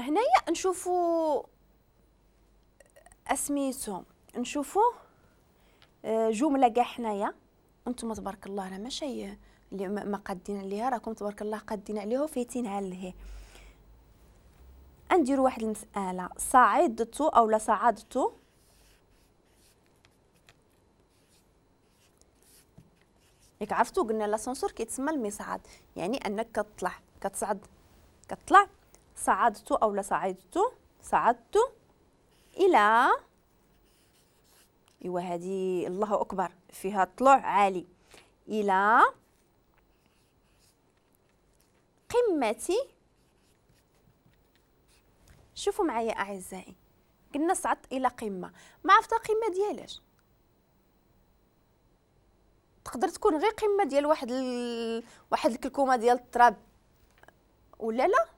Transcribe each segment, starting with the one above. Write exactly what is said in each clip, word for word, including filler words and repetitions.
هنايا نشوفوا اسميتو، نشوفوا جملة كاع حنايا. انتم تبارك الله راه ماشي اللي ما قادين عليها، راكم تبارك الله قادين عليها وفايتينها لهي. نديروا واحد المسالة، صعدت او لا صعدت ياك عرفتوا قلنا l'ascenseur كيتسمى المصعد، يعني انك كتطلع كتصعد كتطلع. صعدت او لا صعدت، صعدت الى، ايوا هذه الله اكبر فيها طلوع عالي، الى قمة. شوفوا معايا اعزائي، قلنا صعدت الى قمة، ما عرفت القمه ديالاش، تقدر تكون غير قمة ديال واحد ال... واحد الكلكومه ديال التراب ولا لا،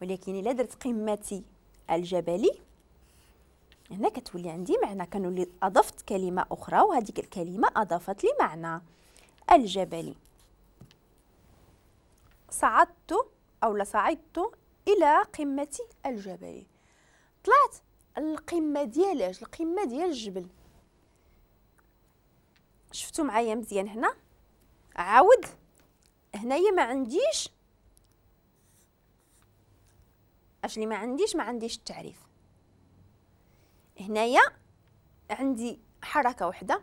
ولكن الا درت قمتي الجبلي هنا كتولي عندي معنى، كنولي اضفت كلمة اخرى وهذيك الكلمة اضافت لي معنى الجبلي. صعدت او لا صعدت الى قمة الجبل، طلعت القمه ديالاش؟ القمه ديال الجبل. شفتوا معايا مزيان هنا؟ عاود هنايا ما عنديش اش اللي ما عنديش، ما عنديش التعريف. هنايا عندي حركة وحده،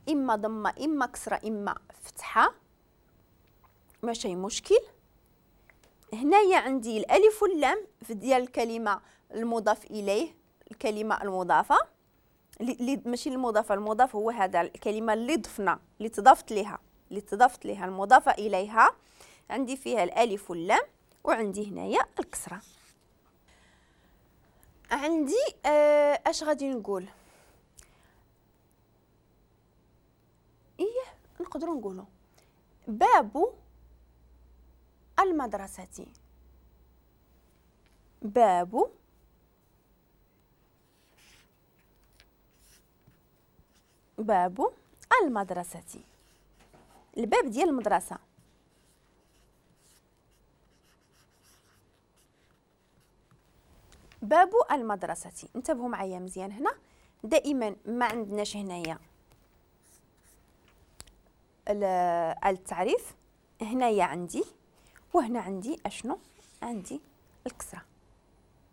اما ضمه اما كسره اما فتحه، ماشي مشكل. هنايا عندي الالف واللام في ديال الكلمة المضاف اليه، الكلمة المضافة اللي ماشي المضافة، المضاف هو هذا الكلمة اللي ضفنا اللي تضافت لها، اللي تضافت لها المضافة اليها، عندي فيها الالف واللام وعندي هنايا الكسرة. عندي آه اش غادي نقول؟ ايه نقدروا نقولوا باب المدرسة، باب باب المدرسة، الباب ديال المدرسة. باب المدرسة. انتبهوا معايا مزيان هنا، دائما ما عندناش هنايا التعريف، هنايا عندي وهنا عندي اشنو؟ عندي الكسرة.